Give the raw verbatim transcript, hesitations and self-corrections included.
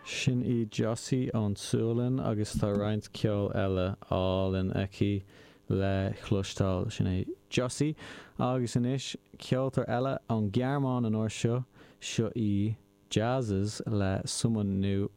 Sin í Josie ón tSualainn agus tá roinnt ceol eile álainn aici le cloisteáil sin é Josie agus anois ceoltóir eile ón Ghearmáin an uair seo seo í Jazzes le Someone New